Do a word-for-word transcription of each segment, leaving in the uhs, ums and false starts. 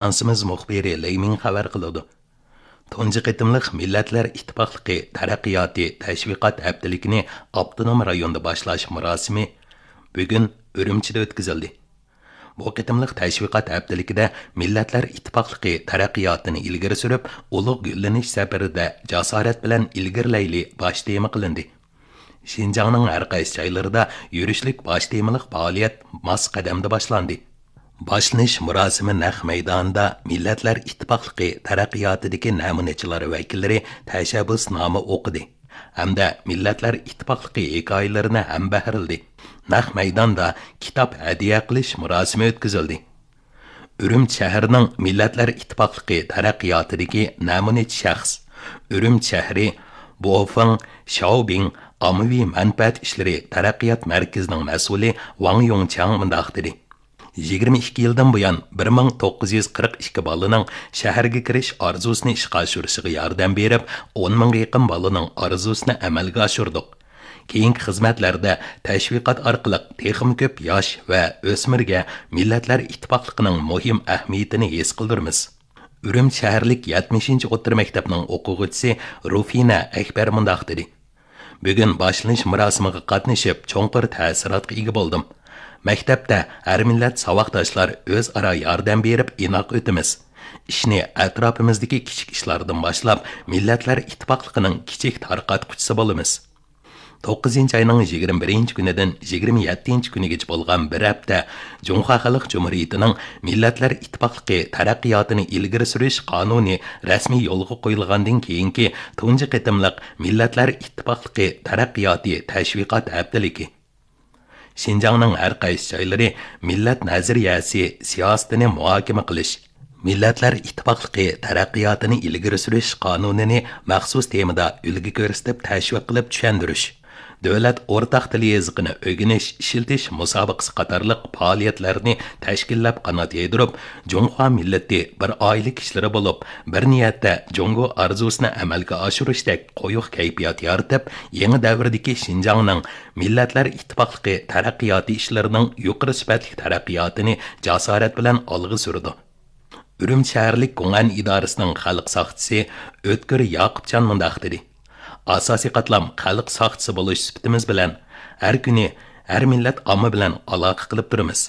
ئاژانسىمىز مۇخبىرى لېي مىڭ خەۋەر قىلىدۇ. تۇنجى قېتىملىق مىللەتلەر ئىتتىپاقلىقى تەرەققىياتى تەشۋىقات ھەپتىلىكىنى ئاپتونوم رايوندا باشلاش مۇراسىمى بۈگۈن ئۈرۈمچىدە ئۆتكۈزۈلدى. بۇ قېتىملىق تەشۋىقات ھەپتىلىكىدە مىللەتلەر ئىتتىپاقلىقى تەرەققىياتىنى ئىلگىرى سۈرۈپ، ئۇلۇغ گۈللىنىش سەپىرىدە جاسارەت بىلەن ئىلگىرىلەيلى باش تېما قىلىندى. شىنجاڭنىڭ ھەر قايسى جايلىرىدا يۈرۈشلۈك باش تېمىلىق پائالىيەت ماس قەدەمدە باشلاندى. باشلىنىش مۇراسىمى نەق مەيدانىدا مىللەتلەر ئىتتىپاقلىقى تەرەققىياتىدىكى نەمۇنىچىلار ۋەكىللىرى تەشەببۇسنامە ئوقۇدى ھەمدە مىللەتلەر ئىتتىپاقلىقى ھېكايىلىرىنى ھەمبەھىرلىدى. نەق مەيداندا كىتاب ھەدىيە قىلىش مۇراسىمى ئۆتكۈزۈلدى. ئۈرۈمچى شەھىرىنىڭ مىللەتلەر ئىتتىپاقلىقى تەرەققىياتىدىكى نەمۇنىچى شەخس، ئۈرۈمچى شەھىرى بوفېڭ شياۋبىڭ ئاممىۋى مەنپەئەت ئىشلىرى تەرەققىيات مەركىزىنىڭ مەسئۇلى ۋاڭ يۇڭچياڭ مۇنداق دېدى: يىگىرمە ئىككى يىلدىن بۇيان بىر مىڭ توققۇز يۈز قىرىق ئىككى بالىنىڭ شەھەرگە كىرىش ئارزۇسىنى ئىشقا ئاشۇرۇشىغا ياردەم بېرىپ، ئون مىڭغا يېقىن بالىنىڭ ئارزۇسىنى ئەمەلگە ئاشۇردۇق. كېيىنكى خىزمەتلەردە تەشۋىقات ئارقىلىق تېخىمۇ كۆپ ياش ۋە ئۆسمۈرگە مىللەتلەر ئىتتىپاقلىقىنىڭ مۇھىم ئەھمىيىتىنى ھېس قىلدۇرىمىز. ئۈرۈمچى شەھەرلىك يەتمىشىنچى ئوتتۇرا مەكتەپنىڭ ئوقۇغۇچىسى رۇفىنە ئەكبەر مۇنداق دېدى: بۈگۈن باشلىنىش مۇراسىمىغا قاتنىشىپ، چوڭقۇر تەسىراتقا ئىگە بولدۇم. مەكتەپتە ھەر مىللەت ساۋاقداشلار ئۆزئارا ياردەم بېرىپ ئىناق ئۆتىمىز. ئىشنى ئەتراپىمىزدىكى كىچىك ئىشلاردىن باشلاپ، مىللەتلەر ئىتتىپاقلىقىنىڭ كىچىك تارقاتقۇچىسى بولىمىز. توققۇزىنچى ئاينىڭ يىگىرمە بىرىنچى كۈنىدىن يىگىرمە يەتتىنچى كۈنىگىچە بولغان بىر ھەپتە جۇڭخۇا خەلق جۇمھۇرىيىتىنىڭ مىللەتلەر ئىتتىپاقلىقى تەرەققىياتىنى ئىلگىرى سۈرۈش قانۇنى رەسمىي يولغا قويۇلغاندىن كېيىنكى تۇنجى قېتىملىق مىللەتلەر ئىتتىپاقلىقى تەرەققىياتى تەشۋىقات ھەپتىلىكى. شىنجاڭنىڭ ھەر قايسى جايلىرى مىللەت نەزەرىيەسى سىياسىتىنى مۇھاكىمە قىلىش، مىللەتلەر ئىتتىپاقلىقى تەرەققىياتىنى ئىلگىرى سۈرۈش قانۇنىنى مەخسۇس تېمىدا ئۈلگە كۆرسىتىپ تەشۋىق قىلىپ چۈشەندۈرۈش، دۆلەت ئورتاق تىل يېزىقىنى ئۆگىنىش، ئىشلىتىش مۇسابىقىسى قاتارلىق پائالىيەتلەرنى تەشكىللەپ قانات يايدۇرۇپ، جۇڭخۇا مىللىتى بىر ئائىلە كىشىلىرى بولۇپ، بىر نىيەتتە جۇڭگو ئارزۇسىنى ئەمەلگە ئاشۇرۇشتەك قويۇق كەيپىيات يارىتىپ، يېڭى دەۋردىكى شىنجاڭنىڭ مىللەتلەر ئىتتىپاقلىقى تەرەققىياتى ئىشلىرىنىڭ يۇقىرى سۈپەتلىك تەرەققىياتىنى جاسارەت بىلەن ئالغا سۈرىدۇ. ئۈرۈمچى شەھەرلىك گوڭئەن ئىدارىسىنىڭ خەلق ساقچىسى ئۆتكۈر ياقۇپجان مۇنداق دېدى: ئاساسىي قاتلام خەلق ساقچىسى بولۇش سۈپىتىمىز بىلەن، ھەر كۈنى ھەر مىللەت ئامما بىلەن ئالاقە قىلىپ تۇرىمىز.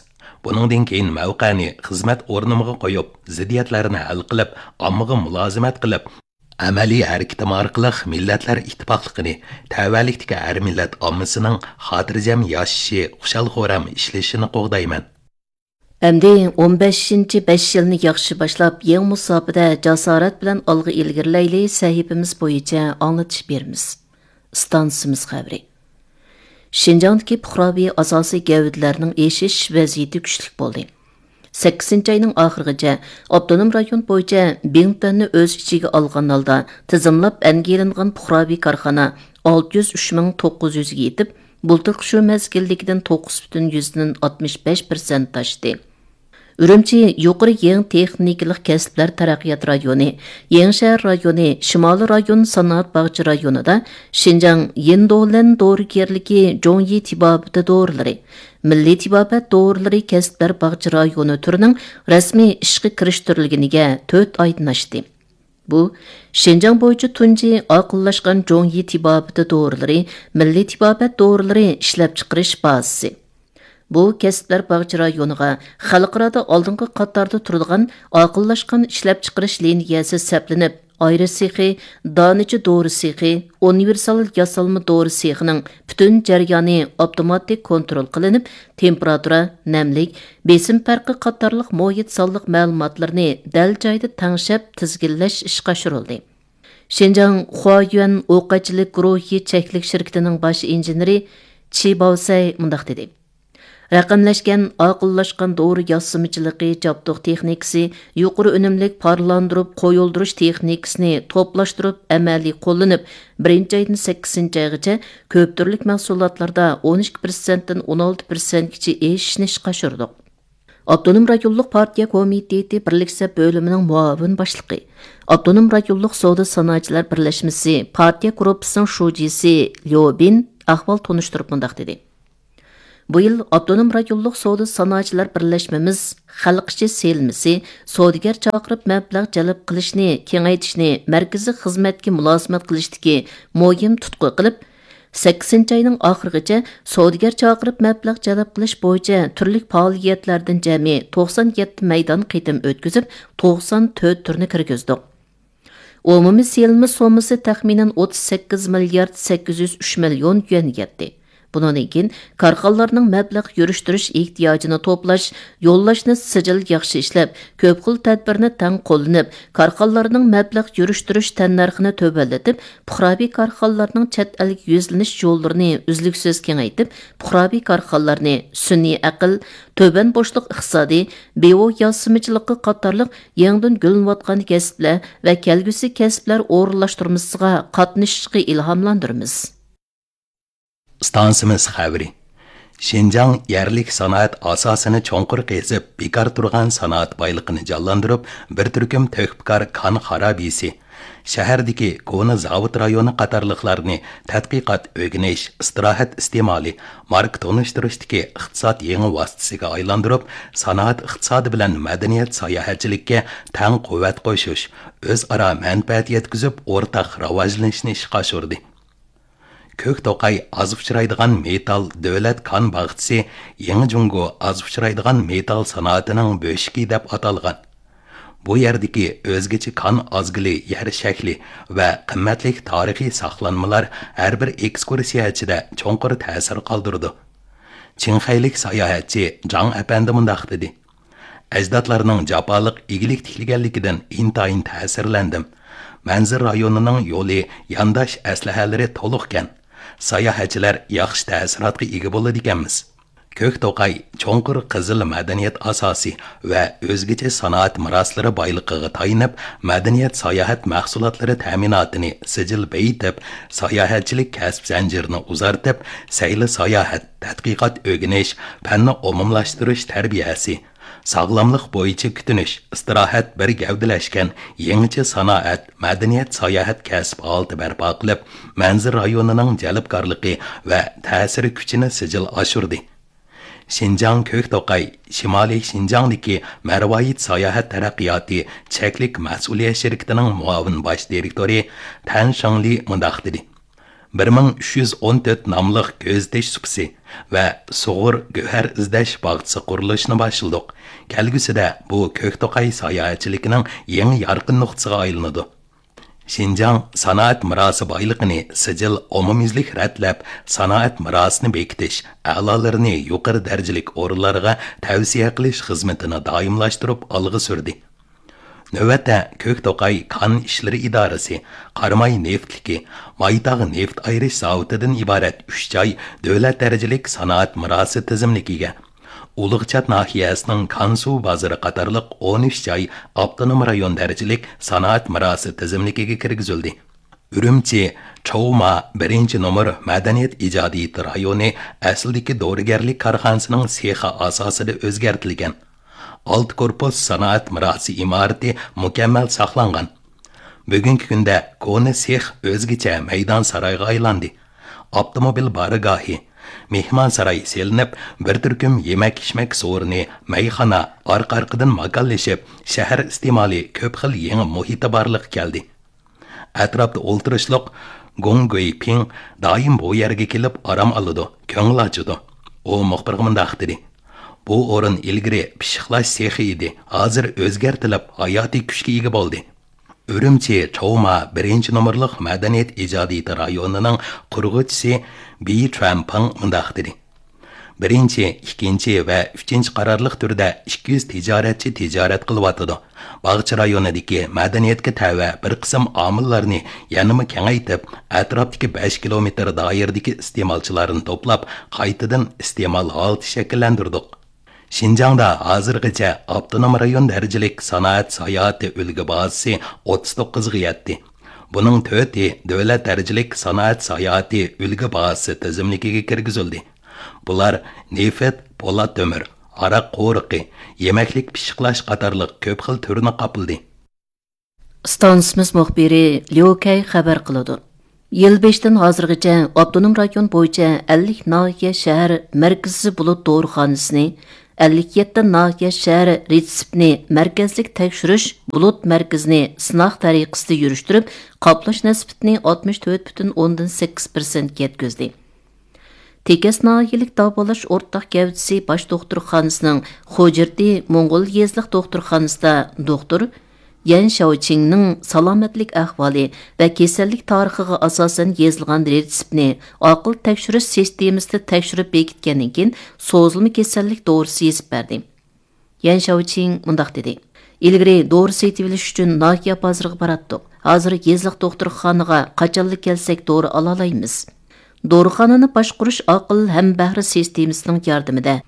بۇنىڭدىن كېيىن مەۋقەنى خىزمەت ئورنۇمغا قويۇپ، زىددىيەتلەرنى ھەل قىلىپ، ئاممىغا مۇلازىمەت قىلىپ، ئەمەلىي ھەرىكىتىم ئارقىلىق مىللەتلەر ئىتتىپاقلىقىنى، تەۋەلىكتىكى ھەر مىللەت ئاممىسىنىڭ خاتىرجەم ياشىشى، خۇشال-خۇرام ئىشلىشىنى قوغدايمەن. ئەمدى ئون بەشىنچى بەش يىلنى ياخشى باشلاپ، يېڭى مۇساپىدە جاسارەت بىلەن ئالغا ئىلگىرىلەيلى سەھىپىمىز بويىچە ئاڭلىتىش بېرىمىز. ئىستانسىمىز خەۋىرى. شىنجاڭدىكى پۇقراۋى ئاساسىي گەۋدىلەرنىڭ ئېشىش ۋەزىيىتى كۈچلۈك بولدى. سەككىزىنچى ئاينىڭ ئاخىرىغىچە ئاپتونوم رايون بويىچە بىڭتۈەننى ئۆز ئىچىگە ئالغان ھالدا تىزىملاپ ئەنگە ئېلىنغان پۇقراۋى كارخانا ئالتە يۈز ئۈچ مىڭ توققۇز يۈزگە يېتىپ، بۇلتۇرقى شۇ مەزگىلدىكىدىن توققۇز پۈتۈن يۈزدىن ئاتمىش بەش پىرسەنت ئاشتى. ئۈرۈمچى يۇقىرى يېڭى تېخنىكىلىق كەسىپلەر تەرەققىيات رايونى، يېڭىشەھەر رايونى، شىمالىي رايون سانائەت باغچە رايونىدا شىنجاڭ يىندولەن دورىگەرلىكى جوڭيى تېبابىتى دورىلىرى، مىللىي تېبابەت دورىلىرى كەسىپلەر باغچە رايونى تۈرىنىڭ رەسمىي ئىشقا كىرىشتۈرۈلگىنىگە تۆت ئايدىن ئاشتى. بۇ، شىنجاڭ بويىچە تۇنجى ئاقىللاشقان جوڭيى تېبابىتى دورىلىرى، مىللىي تېبابەت دورىلىرى ئىشلەپچىقىرىش بازىسى. بۇ، كەسىپلەر باغچە رايونىغا خەلقئارادا ئالدىنقى قاتاردا تۇرىدىغان ئاقىللاشقان ئىشلەپچىقىرىش لىنىيەسى سەپلىنىپ، ئايرا سېخى، دانىچە دورا سېخى، ئۇنىۋېرسال ياسالما دورا سېخىنىڭ پۈتۈن جەريانى ئاپتوماتىك كونترول قىلىنىپ، تېمپېراتۇرا، نەملىك، بېسىم پەرقى قاتارلىق مۇھىت سانلىق مەلۇماتلىرىنى دەل جايىدا تەڭشەپ تىزگىنلەش ئىشقا ئاشۇرۇلدى. شىنجاڭ خۇايۈەن ئوقەتچىلىك گۇرۇھى چەكلىك شىركىتىنىڭ باش ئىنژېنېرى چى باۋسەي مۇنداق دېدى: رەقەملەشكەن ئاقىللاشقان دورا ياسىمىچىلىقى جابدۇق تېخنىكىسى يۇقىرى ئۈنۈملۈك پارلاندۇرۇپ قويۇلدۇرۇش تېخنىكىسىنى توپلاشتۇرۇپ ئەمەلىي قوللىنىپ، بىرىنچى ئايدىن سەككىزىنچى ئايغىچە كۆپ تۈرلۈك مەھسۇلاتلاردا ئون ئىككى پىرسەنتتىن ئون ئالتە پىرسەنتكىچە ئېشىشنى ئىشقا ئاشۇردۇق. ئاپتونوم رايونلۇق پارتىيە كومىتېتى بىرلىك سەپ بۆلۈمىنىڭ مۇئاۋىن باشلىقى، ئاپتونوم رايونلۇق سودا سانائەتچىلەر بىرلەشمىسى پارتىيە گۇرۇپپىسىنىڭ شۇجىسى ليۇ بىن ئەھۋال تونۇشتۇرۇپ مۇنداق دېدى: بۇ يىل ئاپتونوم رايونلۇق سودا سانائەتچىلەر بىرلەشمىمىز خەلق ئىچى سېلىنمىسى، سودىگەر چاقىرىپ مەبلەغ جەلپ قىلىشنى كېڭەيتىشنى مەركىزىي خىزمەتكە مۇلازىمەت قىلىشتىكى مۇھىم تۇتقا قىلىپ، سەككىزىنچى ئاينىڭ ئاخىرىغىچە سودىگەر چاقىرىپ مەبلەغ جەلپ قىلىش بويىچە تۈرلۈك پائالىيەتلەردىن جەمئىي توقسان يەتتە مەيدان قېتىم ئۆتكۈزۈپ، توقسان تۆت تۈرنى كىرگۈزدۇق. ئومۇمىي سېلىنما سوممىسى تەخمىنەن ئوتتۇز سەككىز مىليارد سەككىز يۈز ئۈچ مىليون يۈەنگە يەتتى. بۇنىڭدىن كېيىن كارخانىلارنىڭ مەبلەغ يۈرۈشتۈرۈش ئېھتىياجىنى توپلاش، يوللاشنى سىجىل ياخشى ئىشلەپ، كۆپ خىل تەدبىرنى تەڭ قوللىنىپ، كارخانىلارنىڭ مەبلەغ يۈرۈشتۈرۈش تەننەرخىنى تۆۋەنلىتىپ، پۇقراۋى كارخانىلارنىڭ چەت ئەلگە يۈزلىنىش يوللىرىنى ئۈزلۈكسىز كېڭەيتىپ، پۇقراۋى كارخانىلارنى سۈنئىي ئەقىل، تۆۋەن بوشلۇق ئىقتىسادى، بىئو ياسىمىچىلىقى قاتارلىق يېڭىدىن گۈللىنىۋاتقان كەسىپلەر ۋە كەلگۈسى كەسىپلەر ئورۇنلاشتۇرمىسىغا قاتنىشىشقا ئىلھاملاندۇرىمىز. ئىستانسىمىز خەۋىرى. شىنجاڭ يەرلىك سانائەت ئاساسىنى چوڭقۇر قېزىپ، بىكار تۇرغان سانائەت بايلىقىنى جانلاندۇرۇپ، بىر تۈركۈم تۆھپىكار كان خارابىسى، شەھەردىكى كونا زاۋۇت رايونى قاتارلىقلارنى تەتقىقات، ئۆگىنىش، ئىستىراھەت ئىستېمالى، ماركا تونۇشتۇرۇشتىكى ئىقتىساد يېڭى ۋاسىتىسىگە ئايلاندۇرۇپ، سانائەت ئىقتىسادى بىلەن مەدەنىيەت ساياھەتچىلىككە تەڭ قۇۋۋەت قوشۇش، ئۆزئارا مەنپەئەت يەتكۈزۈپ، ئورتاق راۋاجلىنىشنى ئىشقا ئاشۇردى. كۆك توقاي ئاز ئۇچرايدىغان مېتال دۆلەت كان باغچىسى يېڭى جۇڭگو ئاز ئۇچرايدىغان مېتال سانائىتىنىڭ بۆشۈكى دەپ ئاتالغان. بۇ يەردىكى ئۆزگىچە كان ئازگىلى يەر شەكلى ۋە قىممەتلىك تارىخىي ساقلانمىلار ھەر بىر ئېكسكۇرسىيەچىدە چوڭقۇر تەسىر قالدۇرىدۇ. چىڭخەيلىك ساياھەتچى جاڭ ئەپەندى مۇنداق دېدى: ئەجدادلارنىڭ جاپالىق ئىگىلىك تىكلىگەنلىكىدىن ئىنتايىن تەسىرلەندىم. مەنزىرە رايونىنىڭ يولى، يانداش ئەسلىھەلىرى تولۇقكەن. ساياھەتچىلەر ياخشى تەسىراتقا ئىگە بولىدىكەنمىز. كۆك توقاي چوڭقۇر قىزىل مەدەنىيەت ئاساسى ۋە ئۆزگىچە سانائەت مىراسلىرى بايلىقىغا تايىنىپ، مەدەنىيەت ساياھەت مەھسۇلاتلىرى تەمىناتىنى سىجىل بېيىتىپ، ساياھەتچىلىك كەسىپ زەنجىرىنى ئۇزارتىپ، سەيلە ساياھەت، تەتقىقات ئۆگىنىش، پەننى ئومۇملاشتۇرۇش تەربىيەسى، ساغلاملىق بويىچە كۈتۈنۈش، ئىستىراھەت بىر گەۋدىلەشكەن يېڭىچە سانائەت، مەدەنىيەت ساياھەت كەسىپ ھالىتى بەرپا قىلىپ، مەنزىرە رايونىنىڭ جەلپكارلىقى ۋە تەسىر كۈچىنى سىجىل ئاشۇردى. شىنجاڭ كۆك توقاي شىمالىي شىنجاڭدىكى مەرۋايىت ساياھەت تەرەققىياتى چەكلىك مەسئۇلىيەت شىركىتىنىڭ مۇئاۋىن باش دىرېكتورى تەن شېڭلى مۇنداق دېدى: بىر مىڭ ئۈچ يۈز ئون تۆت ناملىق كۆزىتىش سۇپىسى ۋە سۇغۇر گۆھەر ئىزدەش باغچىسى قۇرۇلۇشىنى باشلىدۇق. كەلگۈسىدە بۇ كۆك توقاي ساياھەتچىلىكىنىڭ يېڭى يارقىن نۇقتىسىغا ئايلىنىدۇ. شىنجاڭ سانائەت مىراسى بايلىقىنى سىجىل ئومۇميۈزلۈك رەتلەپ، سانائەت مىراسىنى بېكىتىش، ئەلالىرىنى يۇقىرى دەرىجىلىك ئورۇنلارغا تەۋسىيە قىلىش خىزمىتىنى دائىملاشتۇرۇپ ئالغا سۈردى. نۆۋەتتە، كۆك توقاي كان ئىشلىرى ئىدارىسى قاراماي نېفىتلىكى، مايتاغ نېفىت ئايرىش زاۋۇتىدىن ئىبارەت ئۈچ جاي دۆلەت دەرىجىلىك سانائەت مىراسى تىزىملىكىگە، ئۇلۇغچات ناھىيەسىنىڭ كانسۇ بازىرى قاتارلىق ئون ئۈچ جاي ئاپتونوم رايون دەرىجىلىك سانائەت مىراسى تىزىملىكىگە كىرگۈزۈلدى. ئۈرۈمچى چوۋما بىرىنچى نومۇر مەدەنىيەت ئىجادىيىتى رايونى ئەسلىدىكى دورىگەرلىك كارخانىسىنىڭ سېخى ئاساسىدا ئۆزگەرتىلگەن. ئالتە كورپۇس سانائەت مىراسى ئىمارىتى مۇكەممەل ساقلانغان. بۈگۈنكى كۈندە كونا سېخ ئۆزگىچە مەيدان سارايغا ئايلاندى. ئاپتوموبىل بارگاھى، مېھمانساراي سېلىنىپ، بىر تۈركۈم يېمەك-ئىچمەك سورۇنى، مەيخانا ئارقا-ئارقىدىن ماكانلىشىپ، شەھەر ئىستېمالى كۆپ خىل يېڭى مۇھىتى بارلىققا كەلدى. ئەتراپتا ئولتۇرۇشلۇق گۇڭ گۇيپىڭ دائىم بۇ يەرگە كېلىپ ئارام ئالىدۇ، كۆڭۈل ئاچىدۇ. ئۇ مۇخبىرغا مۇنداق دېدى: بۇ ئورۇن ئىلگىرى پىششىقلاش سېخى ئىدى، ھازىر ئۆزگەرتىلىپ، ھاياتىي كۈچكە ئىگە بولدى. ئۈرۈمچى چوۋما بىرىنچى نومۇرلۇق مەدەنىيەت ئىجادىيىتى رايونىنىڭ قۇرغۇچىسى بى چۈەنپىڭ مۇنداق دېدى: بىرىنچى، ئىككىنچى ۋە ئۈچىنچى قارارلىق تۈردە ئىككى يۈز تىجارەتچى تىجارەت قىلىۋاتىدۇ. باغچە رايونىدىكى مەدەنىيەتكە تەۋە بىر قىسىم ئامىللارنى يەنىمۇ كېڭەيتىپ، ئەتراپتىكى بەش كىلومېتىر دائىرىدىكى ئىستېمالچىلارنى توپلاپ، قايتىدىن ئىستېمال ھالىتى شەكىللەندۈردۇق. شىنجاڭدا ھازىرغىچە ئاپتونوم رايون دەرىجىلىك سانائەت ساياھىتى ئۈلگە بازىسى ئوتتۇز توققۇزغا يەتتى. بۇنىڭ تۆتى دۆلەت دەرىجىلىك سانائەت ساياھىتى ئۈلگە بازىسى تىزىملىكىگە كىرگۈزۈلدى. بۇلار نېفىت، پولات تۆمۈر، ھاراق قورۇقى، يېمەكلىك پىششىقلاش قاتارلىق كۆپ خىل تۈرنى قاپلىدى. ئىستانسىمىز مۇخبىرى ليۇ كەي خەۋەر قىلىدۇ. يىل بېشىدىن ھازىرغىچە ئاپتونوم رايون بويىچە ئەللىك ناھىيە شەھەر مەركىزىي بۇلۇت دورىخانىسىنى، ئەللىك يەتتە ناھىيە شەھەر رېتسېپنى مەركەزلىك تەكشۈرۈش بۇلۇت مەركىزىنى سىناق تەرىقىسىدە يۈرۈشتۈرۈپ، قاپلاش نىسبىتىنى ئاتمىش تۆت پۈتۈن ئوندىن سەككىز پىرسەنتكە يەتكۈزدى. تېكەس ناھىيەلىك داۋالاش ئورتاق گەۋدىسى باش دوختۇرخانىسىنىڭ خوجىرتى موڭغۇل يېزىلىق دوختۇرخانىسىدا دوختۇر يەن شياۋچىڭنىڭ سالامەتلىك ئەھۋالى ۋە كېسەللىك تارىخىغا ئاساسەن يېزىلغان رېتسېپنى ئاقىل تەكشۈرۈش سىستېمىسىدا تەكشۈرۈپ بېكىتكەندىن كېيىن، سوزۇلما كېسەللىك دورىسى يېزىپ بەردى. يەن شياۋچىڭ مۇنداق دېدى: «ئىلگىرى دورا سېتىۋېلىش ئۈچۈن ناھىيە بازىرىغا باراتتۇق. ھازىر يېزىلىق دوختۇرخانىغا قاچانلا كەلسەك دورا ئالالايمىز.» دورىخانىنى باشقۇرۇش ئاقىل ھەمبەھرە سىستېمىسىنىڭ ياردىمىدە،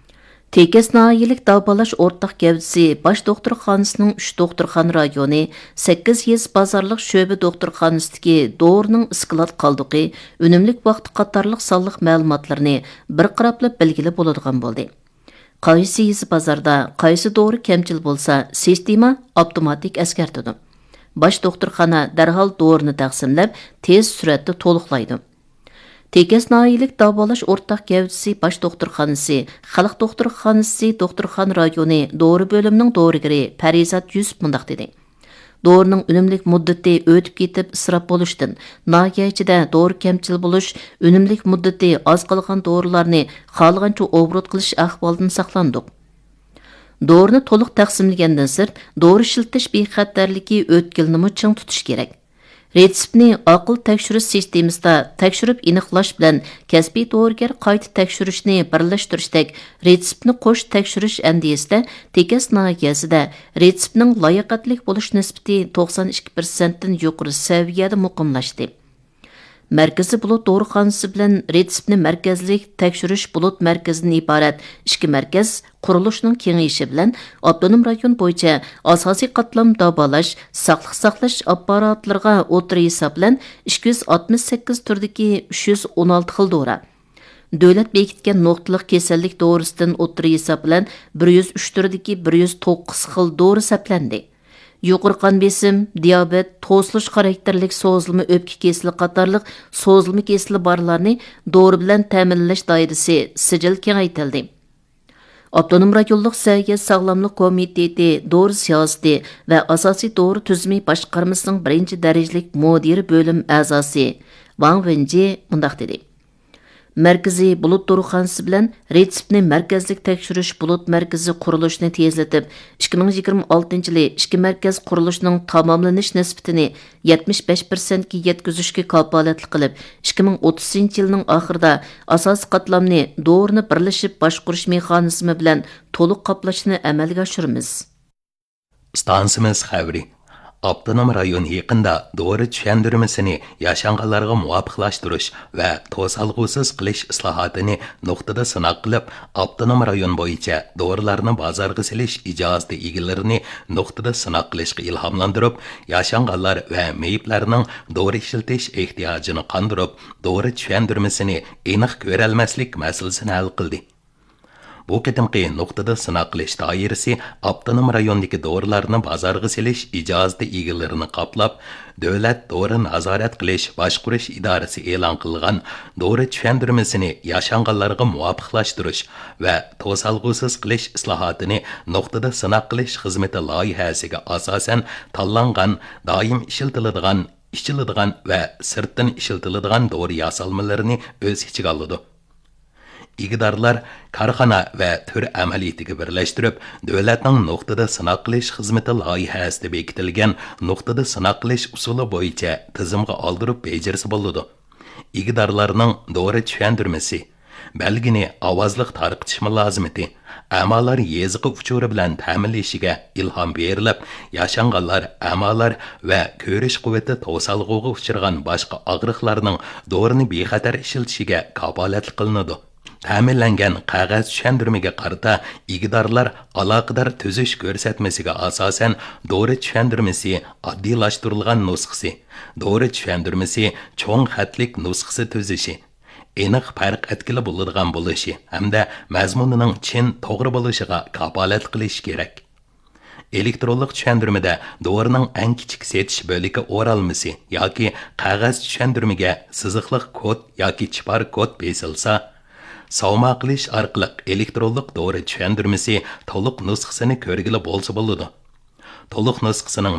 تېكەس ناھىيەلىك داۋالاش ئورتاق گەۋدىسى باش دوختۇرخانىسىنىڭ ئۈچ دوختۇرخانا رايونى، سەككىز يېزا بازارلىق شۆبە دوختۇرخانىسىدىكى دورىنىڭ ئىسكىلات قالدۇقى، ئۈنۈملۈك ۋاقتى قاتارلىق سانلىق مەلۇماتلىرىنى بىر قاراپلا بىلگىلى بولىدىغان بولدى. قايسى يېزا بازاردا قايسى دورا كەمچىل بولسا، سىستېما ئاپتوماتىك ئەسكەرتىدۇ. باش دوختۇرخانا دەرھال دورىنى تەقسىملەپ، تېز سۈرئەتتە تولۇقلايدۇ. تېكەس ناھىيەلىك داۋالاش ئورتاق گەۋدىسى باش دوختۇرخانىسى، خەلق دوختۇرخانىسى دوختۇرخانا رايونى دورا بۆلۈمىنىڭ دورىگىرى پەرىزات يۈسۈپ مۇنداق دېدى: «دورىنىڭ ئۈنۈملۈك مۇددىتى ئۆتۈپ كېتىپ ئىسراپ بولۇشتىن، ناھىيە ئىچىدە دورا كەمچىل بولۇش، ئۈنۈملۈك مۇددىتى ئاز قالغان دورىلارنى خالىغانچە ئوبوروت قىلىش ئەھۋالىدىن ساقلاندۇق.» دورىنى تولۇق تەقسىملىگەندىن سىرت، دورا ئىشلىتىش بىخەتەرلىكى ئۆتكىلىنىمۇ چىڭ تۇتۇش كېرەك. رېتسېپنى ئاقىل تەكشۈرۈش سىستېمىسىدا تەكشۈرۈپ ئېنىقلاش بىلەن كەسپىي دورىگەر قايتا تەكشۈرۈشنى بىرلەشتۈرۈشتەك رېتسېپنى قوش تەكشۈرۈش ئەندىزىسىدە تېكەس ناھىيەسىدە رېتسېپنىڭ لاياقەتلىك بولۇش نىسبىتى توقسان ئىككى پىرسەنتتىن يۇقىرى سەۋىيەدە مۇقىملاشتى. مەركىزىي بۇلۇت دورىخانىسى بىلەن رېتسېپنى مەركەزلىك تەكشۈرۈش بۇلۇت مەركىزىدىن ئىبارەت ئىككى مەركەز قۇرۇلۇشىنىڭ كېڭىيىشى بىلەن ئاپتونوم رايون بويىچە ئاساسىي قاتلام داۋالاش، ساقلىق ساقلاش ئاپپاراتلىرىغا ئوتتۇرا ھېساب بىلەن ئىككى يۈز ئاتمىش سەككىز تۈردىكى ئۈچ يۈز ئون ئالتە خىل دورا، دۆلەت بېكىتكەن نۇقتىلىق كېسەللىك دورىسىدىن ئوتتۇرا ھېساب بىلەن بىر يۈز ئۈچ تۈردىكى بىر يۈز توققۇز خىل دورا سەپلەندى. يۇقىرى قان بېسىم، دىيابېت، توسۇلۇش خاراكتېرلىك سوزۇلما ئۆپكە كېسىلى قاتارلىق سوزۇلما كېسىلى بارلارنى دورا بىلەن تەمىنلەش دائىرىسى سىجىل كېڭەيتىلدى. ئاپتونوم رايونلۇق سەھىيە ساغلاملىق كومىتېتى دورا سىياسىتى ۋە ئاساسىي دورا تۈزۈمى باشقارمىسىنىڭ بىرىنچى دەرىجىلىك مۇدىرى بۆلۈم ئەزاسى ۋاڭ ۋېنجى مۇنداق دېدى: مەركىزىي بۇلۇت دورىخانىسى بىلەن رېتسېپنى مەركەزلىك تەكشۈرۈش بۇلۇت مەركىزى قۇرۇلۇشىنى تېزلىتىپ، ئىككى مىڭ يىگىرمە ئالتىنچى يىلى ئىككى مەركەز قۇرۇلۇشىنىڭ تاماملىنىش نىسبىتىنى يەتمىش بەش پىرسەنتكە يەتكۈزۈشكە كاپالەتلىك قىلىپ، ئىككى مىڭ ئوتتۇزىنچى يىلنىڭ ئاخىرىدا ئاساسىي قاتلامنى دورىنى بىرلىشىپ باشقۇرۇش مېخانىزمى بىلەن تولۇق قاپلاشنى ئەمەلگە ئاشۇرىمىز. ئىستانسىمىز خەۋىرى. ئاپتونوم رايون يېقىندا دورا چۈشەندۈرمىسىنى ياشانغانلارغا مۇۋاپىقلاشتۇرۇش ۋە توسالغۇسىز قىلىش ئىسلاھاتىنى نۇقتىدا سىناق قىلىپ، ئاپتونوم رايون بويىچە دورىلارنى بازارغا سېلىش ئىجازىتى ئىگىلىرىنى نۇقتىدا سىناق قىلىشقا ئىلھاملاندۇرۇپ، ياشانغانلار ۋە مېيىپلەرنىڭ دورا ئىشلىتىش ئېھتىياجىنى قاندۇرۇپ، دورا چۈشەندۈرمىسىنى ئېنىق كۆرەلمەسلىك مەسىلىسىنى ھەل قىلدى. بۇ قېتىمقى نۇقتىدا سىناق قىلىش دائىرىسى ئاپتونوم رايوندىكى دورىلارنى بازارغا سېلىش ئىجازىتى ئىگىلىرىنى قاپلاپ، دۆلەت دورا نازارەت قىلىش باشقۇرۇش ئىدارىسى ئېلان قىلغان دورا چۈشەندۈرمىسىنى ياشانغانلارغا مۇۋاپىقلاشتۇرۇش ۋە توسالغۇسىز قىلىش ئىسلاھاتىنى نۇقتىدا سىناق قىلىش خىزمىتى لايىھەسىگە ئاساسەن تاللانغان دائىم ئىشلىتىلىدىغان، ئىچىلىدىغان ۋە سىرتتىن ئىشلىتىلىدىغان دورا ياسالمىلىرىنى ئۆز ئىچىگە ئالىدۇ. ئىگىدارلار كارخانا ۋە تۈر ئەمەلىيىتىگە بىرلەشتۈرۈپ، دۆلەتنىڭ نۇقتىدا سىناق قىلىش خىزمىتى لايىھەسىدە بېكىتىلگەن نۇقتىدا سىناق قىلىش ئۇسۇلى بويىچە تىزىمغا ئالدۇرۇپ بېجىرسە بولىدۇ. ئىگىدارلارنىڭ دورا چۈشەندۈرمىسى، بەلگىنى ئاۋازلىق تارقىتىش مۇلازىمىتى، ئەمالار يېزىقى ئۇچۇرى بىلەن تەمىنلىشىگە ئىلھام بېرىلىپ، ياشانغانلار، ئەمالار ۋە كۆرۈش قۇۋۋىتى توسالغۇغا ئۇچرىغان باشقا ئاغرىقلارنىڭ دورىنى بىخەتەر ئىشلىتىشىگە كاپالەتلىك قىلىنىدۇ. تەمىنلەنگەن قەغەز چۈشەندۈرمىگە قارىتا ئىگىدارلار ئالاقىدار تۈزۈش كۆرسەتمىسىگە ئاساسەن دورا چۈشەندۈرمىسى ئاددىيلاشتۇرۇلغان نۇسخىسى، دورا چۈشەندۈرمىسى چوڭ خەتلىك نۇسخىسى تۈزۈشى، ئېنىق پەرق ئەتكىلى بولىدىغان بولۇشى ھەمدە مەزمۇنىنىڭ چىن، توغرا بولۇشىغا كاپالەتلىك قىلىشى كېرەك. ئېلېكترونلۇق چۈشەندۈرمىدە دورىنىڭ ئەڭ كىچىك سېتىش بۆلىكى ئورالمىسى ياكى قەغەز چۈشەندۈرمىگە سىزىقلىق كود ياكى چىپار كود بېسىلسا، ساۋما قىلىش ئارقىلىق ئېلېكترونلۇق دورا چۈشەندۈرمىسى تولۇق نۇسخىسىنى كۆرگىلى بولسا بولىدۇ. تولۇق نۇسخىسىنىڭ